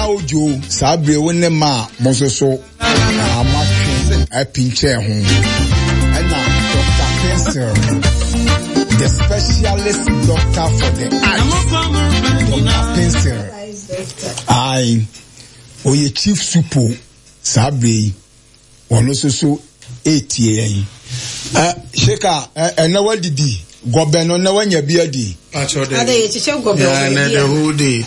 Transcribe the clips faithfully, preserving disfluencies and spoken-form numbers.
Nana Ojo, saa bere wo ne ma a mo nso so amatwe apinkyɛn ho. Ɛna Doctor Pencil, the specialist doctor for the eyes, Doctor Pencil. Aye, ɔyɛ chief supo saa bere yi, ɔno nso so etie yɛn. Ɛ Sheka, ɛnɛ wadidi gɔbɛ no, na wanya bi adi. Ade yɛkyekyɛ gɔbɛ wɔ baabi a. The whole day,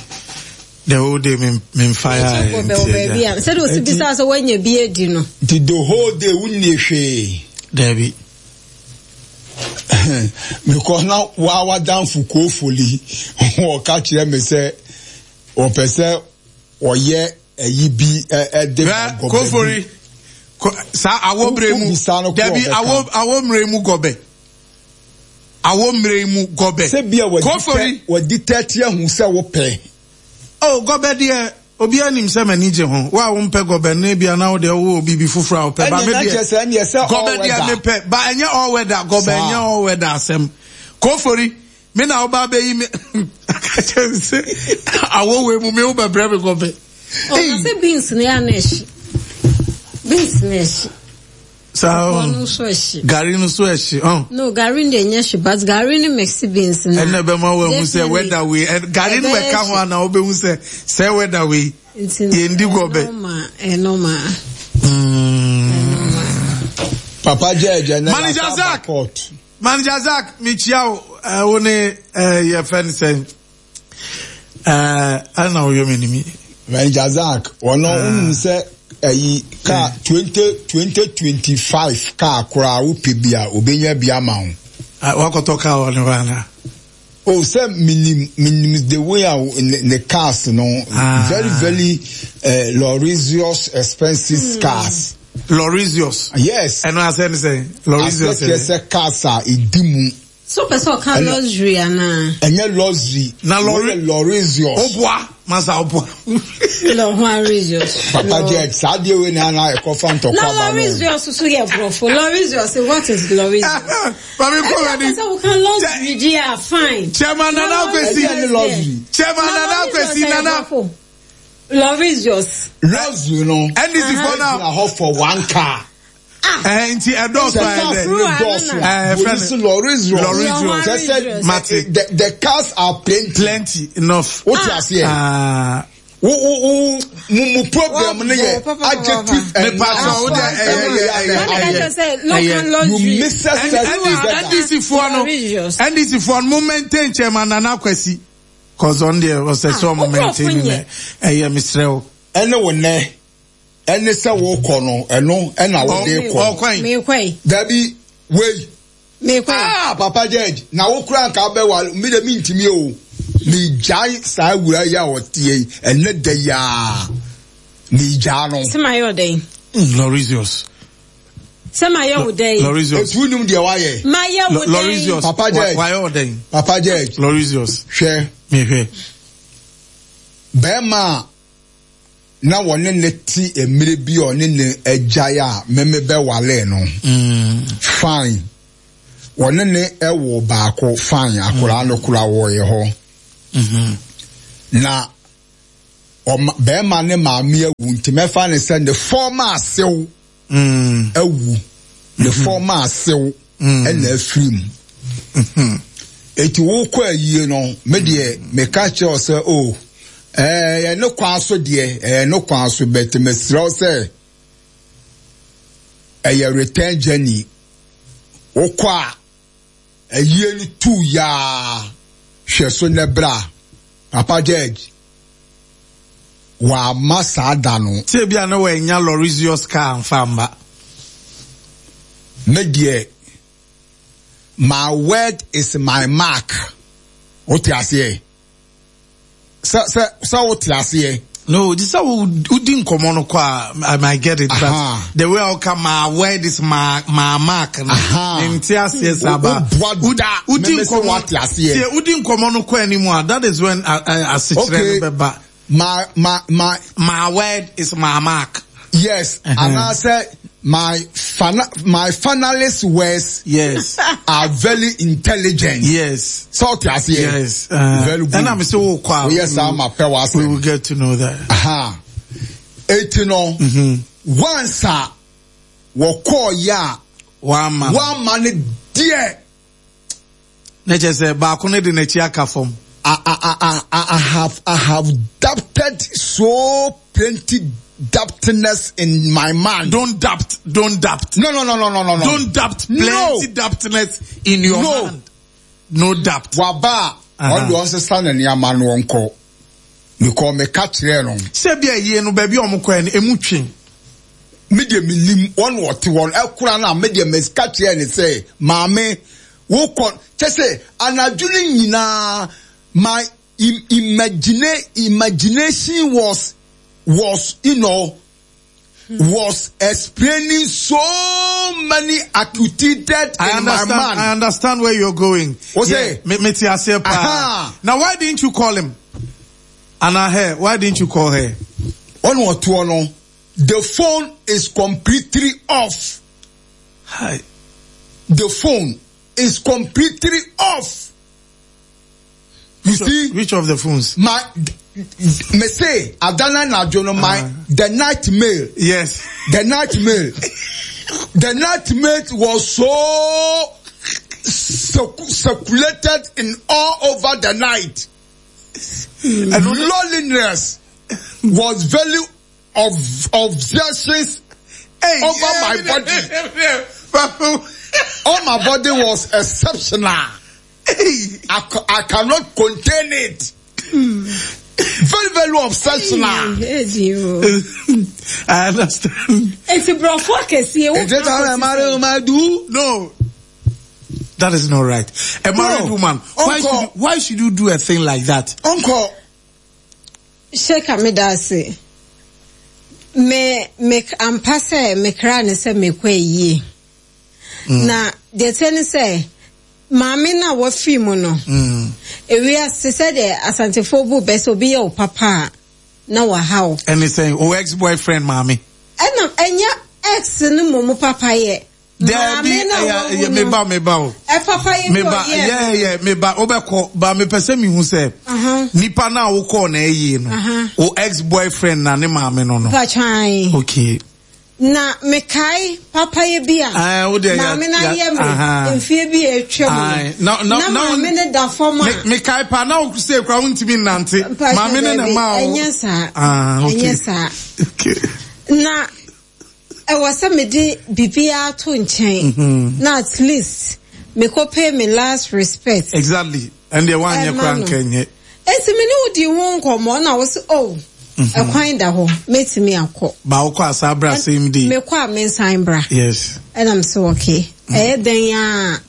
the whole day me me nfa ya. Yɛkyekyɛ gɔbɛ wɔ baabi a. Sɛde osi bisa sɛ wanya bi adi no. Nti the whole day wunni hwee. Dabi. Mekɔ na wa wadanfo koofoli wɔka kyerɛ me sɛ wɔpɛ sɛ wɔyɛ ɛyi bi ɛde ba gɔbɛ bi. Koofori saa awɔ mmerɛ mu dabi awɔ awɔ mmerɛ mu gɔbɛ. Awɔ mmerɛ mu gɔbɛ. Sɛ bia wɔdi tɛti ahu sɛ wopɛ. Oh, gɔbɛ deɛ obiara nim sɛ m'ani gye ho. Wo a wompɛ gɔbɛ no ebia na wo deɛ wowɔ biribi foforɔ a wopɛ. Ba me deɛ gɔbɛ deɛ mepɛ. Ba ɛnyɛ all weather gɔbɛ ɛnyɛ all weather asɛm. Kofori me na woba abɛyi me aka kyerɛ me sɛ awɔ wei mu me wobɛbrɛ me gɔbɛ. Ɔka sɛ beans no yɛ ana ɛhye. Beans no ɛhye. Saa ɔno nso ɛhye. Gari no nso ɛhye. Oh. No, gari no deɛ ɛnyɛ hye, but gari no mix beans no. Ɛnna ɛbɛma wɔahu sɛ weather wei gari no ɛka ho ana wobɛhu sɛ sɛ weather wei yɛn di gɔbɛ. Ɛnɔma. Papa jɛ ɛjɛ ne Manager Zach. Manager Zach, mekyia wo wo ne yɛ fɛ ne sɛn. Ɛna woyɛ m'anim. Manager Zach, ɔno wonim sɛ ɛyi kaa twenty twenty twenty five kaa koraa wopɛ bi a obenya bi ama wo. Wakɔtɔ kaa wɔ ne hɔ ana? Oh, sɛ minim minim the way a ne, ne cars no ah. very very uh, luxurious expensive mm. cars. Luxurious. Yes. Ɛno asɛ ne sɛ luxurious. Asɛ kyerɛ sɛ cars a edi mu. So pɛ sɛ ɔka luxury anaa? Ɛnyɛ luxury. Na lorry luxurious. Oboa masa oboa. Luxurious. Papa Jack, saa deɛ wei na ana ɛkɔfa ntɔkwa ba no. Na luxurious so yɛ borɔfo. Luxurious, what is luxurious? Mami kɔ wani. Ɛsɛ sɛ woka luxury di a fine. Chairman Nana Akwesi. Ɛnyɛ luxury. Chairman Nana Akwesi Nana. Luxurious. Luxury no. N D C for now. Ɛgyina hɔ for one car. Eh, nti ɛdɔɔso ayɛ dɛ. Dɔɔso a. Polisi lorries lorries. Kyɛ sɛ the the cars are plenty. Plenty enough. O ti aseɛ. Wo wo wo mu mu problem no yɛ adjective and noun. Mepa wo de ɛyɛ ɛyɛ ɛyɛ. You mix us together. N D C foɔ no N D C foɔ no mo maintain Chairman Nana Kwesi. Cause on deɛ ɔsɛ sɛ ɔmo maintain ne ɛyɛ mesrɛ wo. Ɛne wo nɛ. Ɛne sɛ wokɔ no ɛno ɛna wode kɔ. Dabi wei. Ah Papa Judge na wo kura nka bɛwa mi de mi ntumi o. Mi gyae saa wura yi a ɔteɛ yi ɛnɛ da yi a mi gyaa no. Sɛ ma yɛ ɔdɛn. Lorisius. Sɛ ma yɛ wo dɛn. Lorisius. Etu nim deɛ wayɛ. Ma yɛ wo dɛn. Lorisius. Papa Judge. Wayɛ ɔdɛn. Papa Judge. Lorisius. Hwɛ. Mi hwɛ. Bɛrima a na wɔne ne te mmerɛ bi a ɔne ne agyae a meme bɛwale no. Fine. Wɔne ne ɛwɔ baako fine akwaraa no kora wɔyɛ hɔ. Na ɔma bɛrima ne maame awu nti mɛfa ne sɛ ne fɔma asew awu. Ne fɔma asew ɛna afiri mu. Eti wokɔ ayie no me deɛ meka kyerɛ sɛ o eh ne kwan so deɛ eh ne kwan so bet mesrɛ sɛ ɛyɛ return journey wokɔ a ayie no tu ya hwɛ so ne bra Papa Judge wa ma saa da no tie bia na wa nya luxurious car mfa mba me deɛ my word is my mark. Wote aseɛ sɛ sɛ sɛ wote aseɛ. No, this is how udi nkomo no kwa. I might get it, but the way I come, my word is my my mark. Nti aseɛ saba. Udi nkomo aseɛ. Udi nkomo no kwa anymore. That is when I I sit okay. My my my my word is my mark. Yes, and I said My fana, my finalist words yes are very intelligent. Yes. So yes. Yes. Uh, very good. And I'm so quiet. Yes, I'm a power. We will get to know that. Aha. Eti no. Mm-hmm. Once a woko ya one man. One man dear. Na kyerɛ sɛ baako no de n'akyi aka fam. I, I, I, I have I have doubted so plenty doubtness in my mind. Don't doubt. Don't doubt. No, no, no, no, no, no, no. Don't doubt. Plenty no. doubtness in your no. mind. No doubt. Waba. Ɔde ɔnsesa ne nneɛma no ɔnkɔ. Mekɔ meka kyerɛ no. Sɛ bi a yie no baabi a ɔmo kɔɛ no emu twe. Me deɛ me nim wɔn wɔte wɔn ɛkora na me deɛ meka kyerɛ ne sɛ maame wokɔ kyɛ sɛ anadwo no nyinaa my imagine imagination was was you know was explaining so many acquitted I in understand, my mind. I understand where you're going. What's yeah, it? Me, me Now why didn't you call him? Anna her, why didn't you call her? One or two, no. The phone is completely off. Hi. The phone is completely off. You which see? Of, which of the phones? My, me say, Adana Najono, my, uh, the night mail. Yes. The night mail. The night mail was so circulated in all over the night. And loneliness was very of obsessions hey, over yeah, my body. All my body was exceptional. Hey. I, I cannot contain it. Very, very obsessional. I understand. It's a Is it how I do? No. That is not right. A married no. woman, why should, you, why should you do a thing like that? Uncle. Sheka me dase. Me me ampa sɛ me kra ne sɛ me kɔ yie. Na deɛ tɛ ne sɛ maame na wafiri mu no. Ewiase sɛ deɛ Asantefo bu bɛ sɛ obi yɛ wo papa a na waha wo. Ɛne sɛ o ex-boyfriend maame. Ɛna ɛnyɛ ex no mmom papa yɛ. Maame na wawu no. Meba meba o. Ɛ papa yɛ bi Meba ɔyɛ. yeah yeah meba obɛkɔ ba mepɛ sɛ mehu sɛ nipa na wokɔɔ na ɛyie no o ex-boyfriend na ne maame no no. Patwan. Okay. Na mekae papa yɛ bi a Ah, wo deɛ ya- maame na ya- yɛ me aha. mfie bi a atwa mu Aye. Na no. na Na maame ne da fam a Me mekae pa na wo sɛ kura wontumi nnante. Mpakyɛ Maame ne na dabi, ma wo. ɛnyɛ saa. Ah, okay. Ɛnyɛ saa. Okay. Na ɛwɔ sɛ mede biribiara to nkyɛn na at least mekɔ pay me last respect. Exactly. And the one yɛ Ɛma kura no. nka nyɛ. Enti me ne wo di ho nkɔmmɔ na wo sɛ oh ɛkwan da hɔ mɛtumi akɔ. Ba wokɔ asa bra same day. Mekɔ a mensan bra. Yes. Ɛna m sɛ okay ɛyɛ dɛn a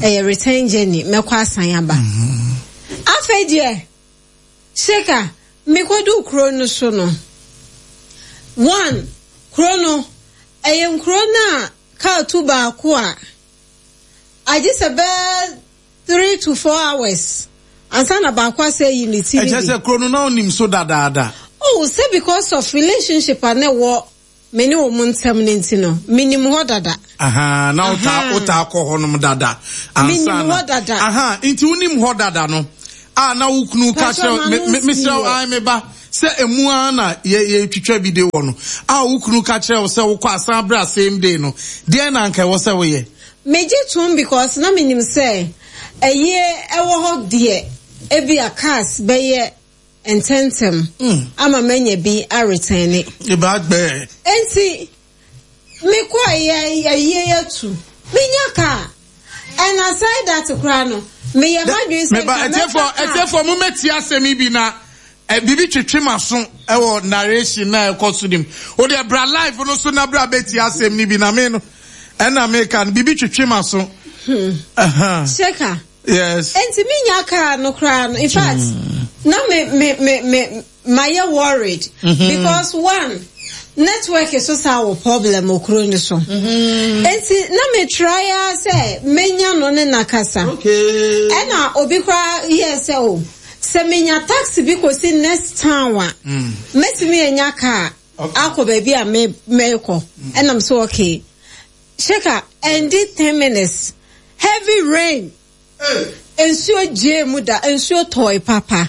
ɛyɛ return journey mɛkɔ asan aba. Afei deɛ Sheka mekɔdu kuro no so no one kuro no ɛyɛ nkuro no a kaa tu baako a agye sɛ bɛɛ three to four hours ansa na baako asɛ yi ne ti Ɛkyɛ bi. sɛ kuro no na onim so dadaada. Oh, sɛ because of relationship a na ɛwɔ me ne wɔn ntam ne nti no menim hɔ dada. Aha, na wota Aha. wota akɔ hɔnom dada. Menim Ansa na- hɔ dada. Aha, nti wonim hɔ dada no. A na wo kunu ka Pastor, kyerɛ me ma me no mesrɛ wo nsi ai me ba sɛ emu ara na yɛ yɛtwitwa bi de wɔ no. A wo kunu ka kyerɛ wo sɛ wokɔ asan bra same day no. Deɛn na anka ɛwɔ sɛ woyɛ? Megye tom because na menim sɛ ɛyie ɛwɔ hɔ deɛ ebi a cars bɛyɛ ntɛntɛm ama manya bi aretɛne. Eba gbɛ. Enti mekɔ ɛyɛ ɛyie yɛtu menya car and aside that koraa no meyɛ m'adwene sɛ Meba nka ɛtiɛfo mɛfa car. ɛtiɛfo mo mɛti asɛm yi bi na ɛ bibi twetwe m'aso ɛwɔ narration na ɛkɔ so nim. O deɛ bra live no so na bra bɛti asɛm ni bi na me no ɛna meka no bibi twetwe m'aso. Aha. Sheka. Yes. Enti menya car no koraa no in fact na me me me me mayɛ worried because one network so saa wɔ problem wɔ kuro no so. Enti na me try a sɛ menya no ne nakasa. Okay. Ɛna obi koraa yɛ sɛ o sɛ menya taxi bi kɔsi next town a mɛtumi anya car. Akɔ baabi a me mɛkɔ. Ɛna m so okay. Sheka, ɛndi ten minutes. Heavy rain. Nsuo gyee mu da, nsuo tɔe papa.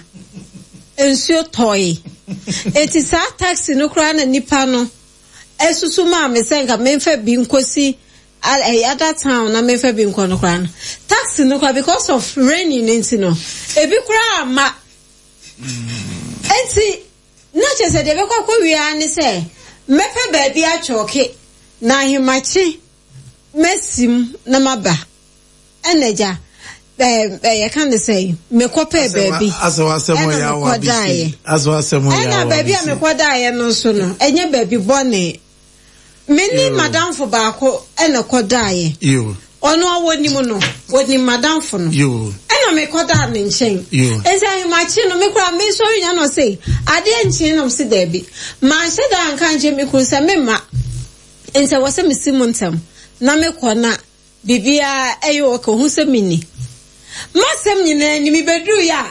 Nsuo tɔe. Eti saa taxi no koraa na nipa no esusu maa me sɛ nka memfa bi nkosi ɛyɛ other town na memfa bi nkɔ no koraa no. Taxi no koraa because of raining no nti no, ebi koraa ama. Enti na kyerɛ sɛ deɛ ɛbɛkɔ akɔwie ara ne sɛ mɛpɛ baabi atwɔke na ahemakye mɛsim na maba. Ɛna agya ɛɛ yɛka ne sɛ mekɔpɛɛ baabi ɛna mekɔdaeɛ. Ɛna baabi a mekɔdaeɛ no nso no ɛnyɛ baabi bɔne. Me ne madamfo baako ɛna kɔdaeɛ. Ɔno a wɔnim no, wɔnim madamfo no. Ɛna mekɔdaa ne nkyɛn. Enti ahemakye no, me koraa mesɔre nya no sɛ adeɛ nkyee na ɔse daabi. Manhyɛ da anka nkyerɛ me kunu sɛ memma. Nti ɛwɔ sɛ mesi mu ntɛm na mekɔ na biribiara ɛyɛ okay, ohu sɛ menni. Masɛm nyinaa ni, mebɛduru yɛ a,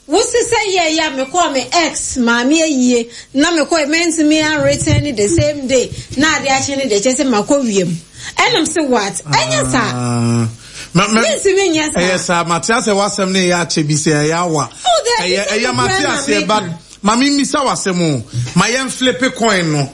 wose sɛ yɛ yɛ a mekɔɔ me ex maame ayie na mekɔɔ mɛntumi anreturn the same day na ade akye ne deɛ kyerɛ sɛ makɔ wiem. Ɛnam sɛ what? Ɛnyɛ saa. Mentumi nyɛ saa. Ɛyɛ saa, mate asɛ w'asɛm ne ɛyɛ akyɛ bi sɛ ɛyɛ awa. Oh, daabi, Ɛyɛ sɛ ɛyɛ mate nokorɛ na aseɛ meka. Ba ma me mmisa w'asɛm o. Ma yɛn flip coin no.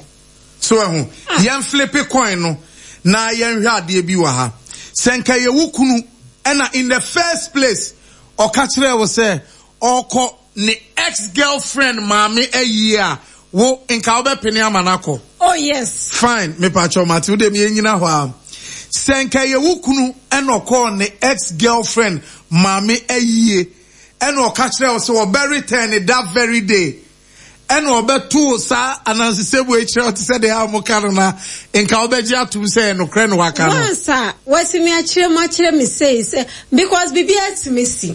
So ɛho, yɛn flip coin no na yɛnhwɛ adeɛ bi wɔ ha. Sɛ nka yɛ wo kunu ɛna in the first place ɔka kyerɛ wo sɛ ɔkɔ ne ex girlfriend maame ayie a, wo nka wobɛpene ama no akɔ? Oh yes. Fine, mepakyɛw mate wo deɛ yɛnyina hɔ a. Sɛ nka yɛ wo kunu ɛna ɔkɔɔ ne ex girlfriend maame ayie ɛna ɔka kyerɛ wo sɛ ɔbɛ return that very day ɛna ɔbɛto saa anansesɛmu akyerɛ wo te sɛ deɛ a wɔka no na nka wobɛgye atom sɛ ɛnokorɛ na waka no. Once a watumi akyerɛ mu akyerɛ me sei sɛ because biribiara tumi si.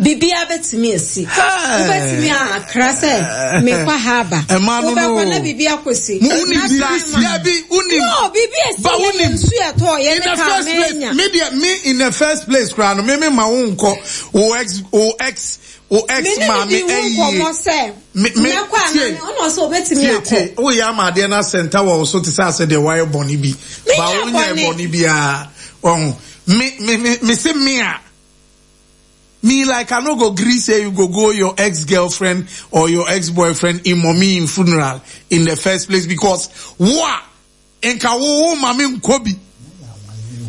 Biribiara bɛtumi asi. Wobɛtumi akra sɛ mekɔ ha aba. Ɛma no no. Wobɛkɔ na biribi akɔsi. Mo wonim Na biribi time si a- dabi wonim. No, biribi asi Ba yɛ wonim. nsu ɛtɔ yɛ In ne the kaa first place, mɛnya. me deɛ me in the first place koraa no me me ma wo nkɔ wo ex wo ex wo ex Me ne maame ne di ho ayie. nkɔmmɔ sɛ Me me mɛkɔ ana tie ɔno ɔsɛ obɛtumi tie akɔ. tie woyɛ ama adeɛ no asɛnta wɔ wo so te sɛ asɛ deɛ wayɛ bɔne bi. Menyɛ Ba wonyɛ bɔne. bɔne biara. Ɔho me me me me se me a me like I no go gree say you go go your ex-girlfriend or your ex-boyfriend in mommy in funeral in the first place because wa nka wo wo mame nkɔ bi.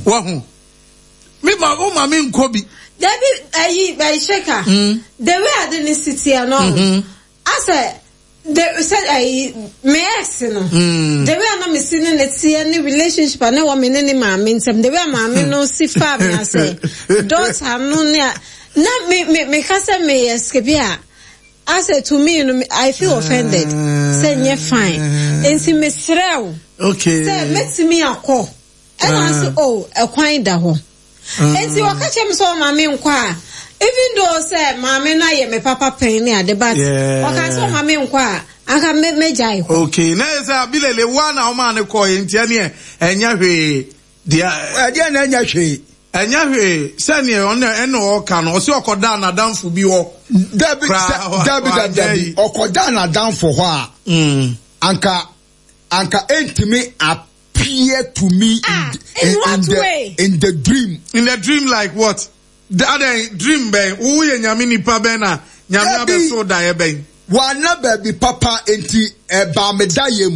Wahu. Me ma wo mame nkɔ bi. Dabi ayi ayi sheka. The way ade ne si teɛ no. Asɛ the sɛ ayi me ex no. The way a na me si ne ne teɛ ne relationship a na ɛwɔ me ne ne maame ntɛm. The way a maame no si fa me asɛ daughter no ne a na me me me ka sɛ me escape a asɛ to me no I feel offended. Sɛ nyɛ fine. Nti me srɛ wo. Okay. Sɛ mɛtumi akɔ. Ɛna nso oh ɛkwan da hɔ. Enti wɔka kyerɛ me sɛ ɔma me nkɔ a even though sɛ maame no ayɛ me papa pɛn ne ade but Yeah. ɔka sɛ ɔma me nkɔ a anka me mɛgyae kɔ. Okay. Na yɛ sɛ abilele wa na ɔma ne kɔ yɛ nti ɛneɛ ɛnyɛ hwee. Deɛ Ɛdeɛ na ɛnyɛ hwee. ɛnyɛ hwee sɛneɛ ɔno ɛna ɔka no ɔsɛ ɔkɔda n'adamfo bi hɔ. Dabi Koraa, sɛ dabi wa- dabi dabi ɔkɔda n'adamfo hɔ a Mm. anka anka entumi appear to me Ah, in, in what in the way? in the dream. In the dream like what? The other dream bɛn wo yɛ nyame nipa bɛn na nyame Dabi. abɛso daeɛ bɛn. Wana baabi papa enti ɛbaa me da yam.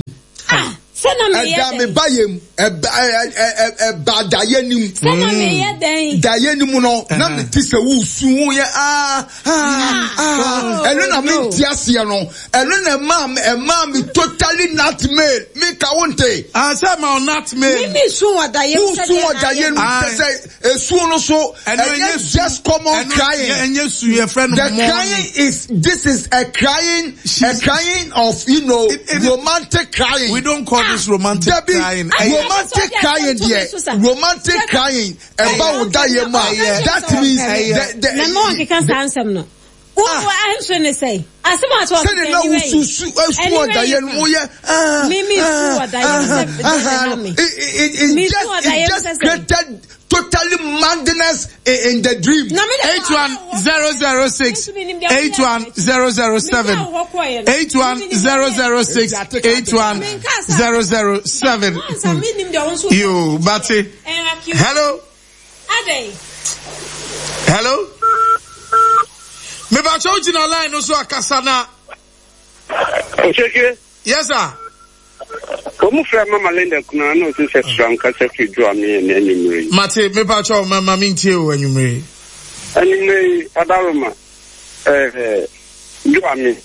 Ah, sɛ na meyɛ Ɛda me dɛn? ba yam. Ɛba ɛ ɛ ɛ ɛba daeɛ nim. Sɛ na meyɛ dɛn? Daeɛ nim no na me ti sɛ wusu wo yɛ ah ah ah. Ɛno na me no. nti aseɛ no. Ɛno na ɛmaa me ɛmaa me totally nightmare. Me ka wo nte. Ah sɛ ma nightmare. Me me su wɔ daeɛ mu Wusu wɔ daeɛ nim Aye. sɛ sɛ esuo no so Ɛno ɛnyɛ ɛnyɛ su. just common Ɛno crying. ɛnyɛ su yɛ frɛ no The mourning. crying is this is a crying a crying of you know It- it- romantic crying. We don't call this romantic Debbie, crying. Ah, Ɛyɛ- romantic crying deɛ romantic crying ɛba wo da yɛ mu a that means the the Na ma wɔnkeka saa nsɛm no. Wo wo ahwɛ ne sɛ asɛm a to sɛde na wosusu esu wɔ daeɛ no mu yɛ ah Me- me su wɔ daeɛ mu sɛ- ah sɛ ah me. it it Me it su just wɔ daeɛ it mu just sɛ sɛ- created totally madness in, in the dream. eight one zero zero six eight one zero zero seven eight one zero zero six eight one zero zero seven. You, Batty. Hello. Hello. Me ba choji line no so akasa na. Yes sir. Omu fra Mama Linda kuna na osi se fra nkasa fi dwa me na anwumre. Mate me pa cho mama mintie o anwumre. Anwumre adaroma eh dwa me.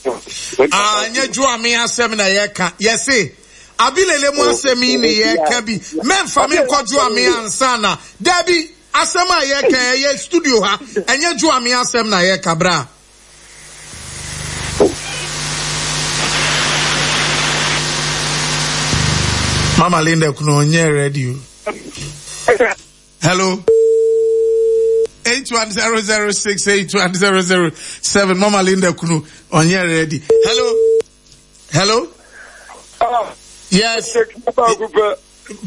Ah nya dwa me asem na ye ka. Yes se abilele mu asem ni ye ka bi. Memfa me nkɔ me ansa na. Dabi asem a ye ka ye studio ha enye dwa me asem na ye ka bra. Mama Linda kuno onye radio. Hello. eight one zero zero six eight one zero zero seven. Mama Linda kuno onye ready. Hello. Hello. Ah. Yes. Papa.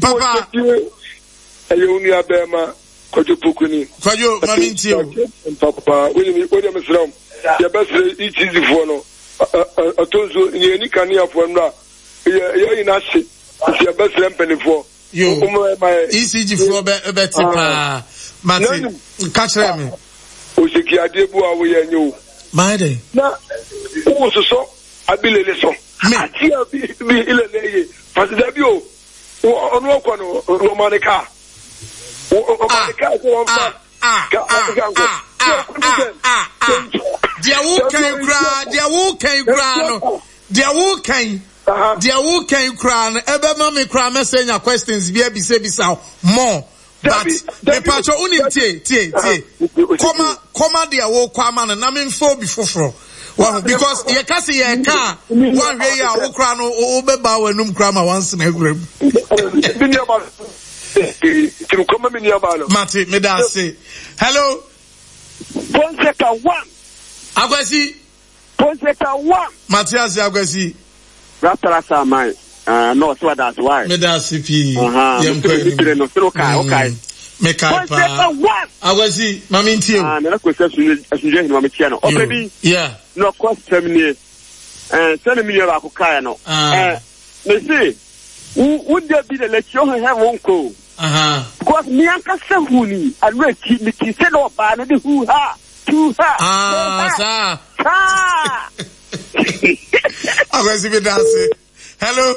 Papa. Ayo unu abema Kwajo Pokuni. Kwajo mami ntio. Papa, we ni we dem sram. Ya besre ichizi fo no. Atonzo ni ni kania fo nra. Ya ya ina hye. If besre mpenifo. Yo. E C G fo be beti pa. Mati catch me. Osiki ade bu awo ye nyo. My day. Na wo soso abilele so. Ati abi bi ilele ye. Pastor bi o. Onu okwa no romanika. Romanika ko won fa. Ah ah ah ah. Dia wo kan kra, dia wo kan kra no. Dia wo kan. Dia wo kan kra no. Ebe ma me kra me say nya questions bi abi say bisa more. But me pacho unim tie tie tie. Koma koma dia wo kwa ma no na me mfo bi foforo. Well, because ye ka say ye ka one way ya wo kra no wo beba wanum kra ma once na egurem. Mati me da say. Hello. Ponseca one. Akwesi. Ponseca one. Matias Akwesi. Raptara samai. Uh, no, so that's why. Me da C P. Uh-huh. No, so okay, okay. Me kai pa. Akwesi, mami ntie. Ah, me na kwesi asunje hin mami tie no. O baby. Yeah. No cost terminate. Eh, send me your akokai no. Eh, me say, wo dey bi the let you have one ko. Uh-huh. Because me anka se huni, already me ti se no ba no de hu ha, two ha. Ah, sir. Ah. Akwesi me da say. Hello.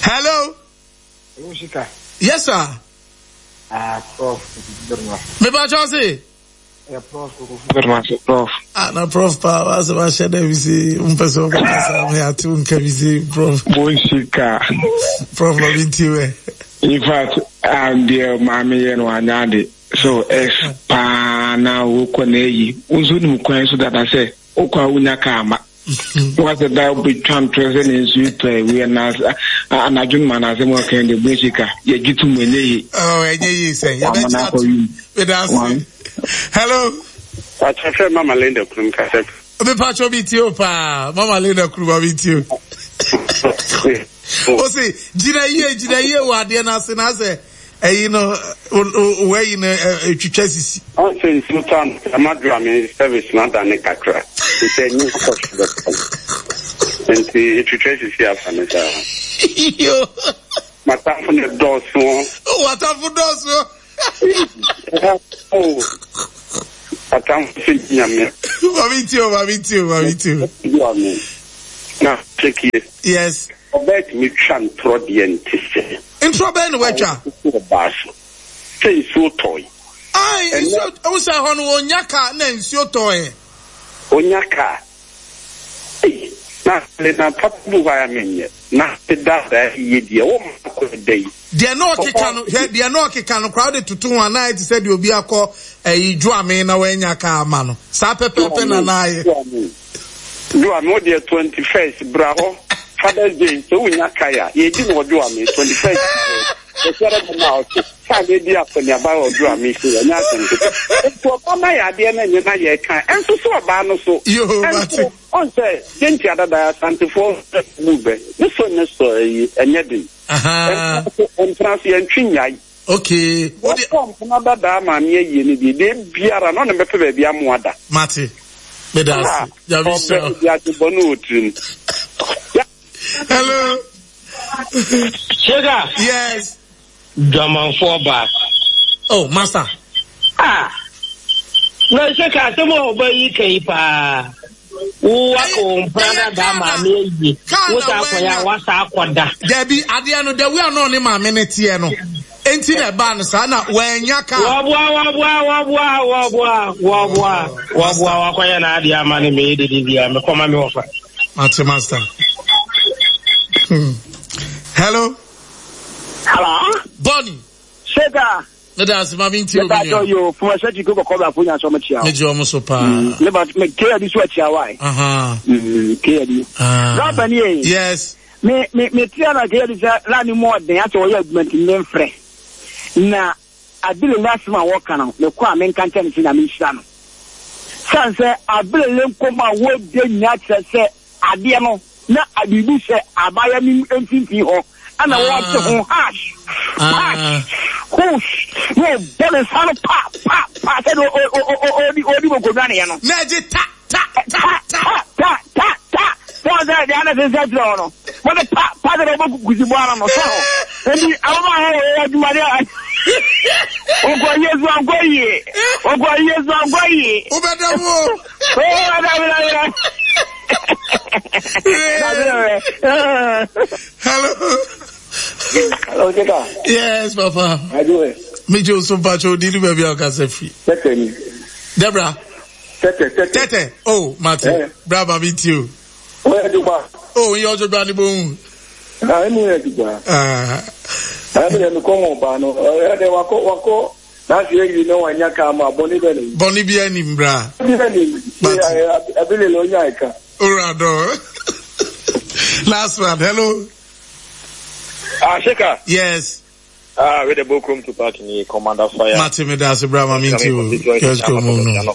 Hello. Hello, Shika. Yes, sir. Ah, Prof. Me ba Chelsea. Yeah, Prof. Prof. Ah, na Prof pa, wa se wa share we see un person ka sa me atu nka we see Prof. Bon Shika. Prof lo binti we. In fact, I'm there, mommy and wanyade. So S pa na wo ko na yi. Unzu ni mkwan so that I say, okwa unya ka What the that be trying in sweet we are not and I don't man as a more kind of music. You get to me. Oh, and you say, hello. I prefer Mama Linda Krum Cassette. Me patcho me tio pa, Mama Linda Krum me tio. O say, Gina ye, Gina ye, wa de na se na se. Eh, you know, where you know, twitwa. Oh, say Sultan, Amadra service na da ne kakra. It's a new question. And the twitwa sisi afa ne sa. Yo. Matamfo ne dɔɔso. Oh, matamfo dɔɔso. Oh. Matamfo se nyame. Mami tio, mami tio, mami tio. Na check here. Yes. Obet mi twa ntro de nti se. Ntro ben no watwa. Baso. Say so toy. Ai, nsuo o say ho no onyaka na nsuo toy. Onyaka. Ei, na le na papu wa menye. Na te da da ye die wo ma ko dei. De no okeka no, hwe de no okeka no crowd tutu ho na ti said obi akọ eh djuame na wa nyaka ama no. Sa pepepe na na aye. Djuame o de twenty-first bra ho. Father's Day, so we not kaya. Ye di no djuame twenty-first. E sere na o ka le di afọ ni aba o djuame se ya nya asem. To ọba ya de na nye na ye kan. Enso so ọba no so. Yo, mate. On say, genti adada asantefo move. Ne so ne so yi enye den. Aha. Entrance ye ntwi nyai. Okay. Wɔkɔ mpona dadaa maame ayie no deɛ, deɛ biara na ɔne bɛpɛ baabi amoa da. Mate. Meda ase. Nyame nhyira wo. Ɔbɛ bi ade bɔ no wɔ tirim. Hello. Sugar. Yes. Dwamanfoɔ baa. Oh, master. Ah. Na sɛ ka asɛm a ɔba yi ka yi paa. Wo waka wo mpena dada maame ayie. Wo saa akɔyɛ a wasa akɔda. Dabi adeɛ no the way a na ɔne maame no teɛ no. Enti na ɛbaa no saa na wanya ka. Wɔboa wɔboa wɔboa wɔboa wɔboa wɔboa wakɔyɛ n'adeɛ ama ne meyɛ dede bia mekɔma me wɔfa. Mate master. Hmm. Hello. Hello. Bonnie. Shega. Meda ase ma minti obi nua. Yo, fuma sɛ ti ko kɔkɔ bɛ afo nya sɔmɔ tia. Me gye ɔmo so paa. Ne ba me ke adi so atia wa. Aha. Mm, ke adi. Ah. Rapa ni e. Yes. Me me me tia na ke adi sɛ la ni mo ɔden asɛ ɔyɛ adwuma nti me mfrɛ. Na abile la asɛm a wɔka no me kɔ a me nka nkyɛn ne sɛ Nyame nhyira no. San sɛ abile le nkɔmɔ a wɔde nya kyerɛ sɛ adeɛ no na biribi hyɛ abaya no mfimfini hɔ ɛna wɔte ho hash hash hush na ɔbɔ ne nsa no pa pa pa sɛdeɛ ɔdi ɔdi bɔkɔdwaneɛ no. Na ɛgye ta ta ta ta ta ta ta sɛ ɔsɛ deɛ ana sɛ kyerɛ hɔ no wɔde pa pa sɛ ɔbɔ kusi bɔ ano no sɛ hɔ nti ababaawa wɔ yɛ adwuma deɛ ɔkɔ yie so ankɔ yie ɔkɔ yie so ankɔ yie. Wobɛda mu o. Wobɛda mu na Hello. Hello, Jeka. Yes, Papa. How you doing? Me Joe so pacho di ni baby akasa free. Tete ni. Debra. Tete, tete. Tete. Oh, Mate. Eh. Bra ma me too. Oya juba. Oh, yo jo bra ni bo. Ah, emu ya juba. Ah. Ah, me me komo ba no. Eh, de wako wako. Na se yi no wanya ka ma boni be ni. Boni bi anim bra. Boni be ni. Abile lo nya ika. Orado. Last one. Hello. Ah, Sheka. Yes. Ah, we the book room to park in Commander Fire. Mate me das bra ma me too. Yes, go no. Na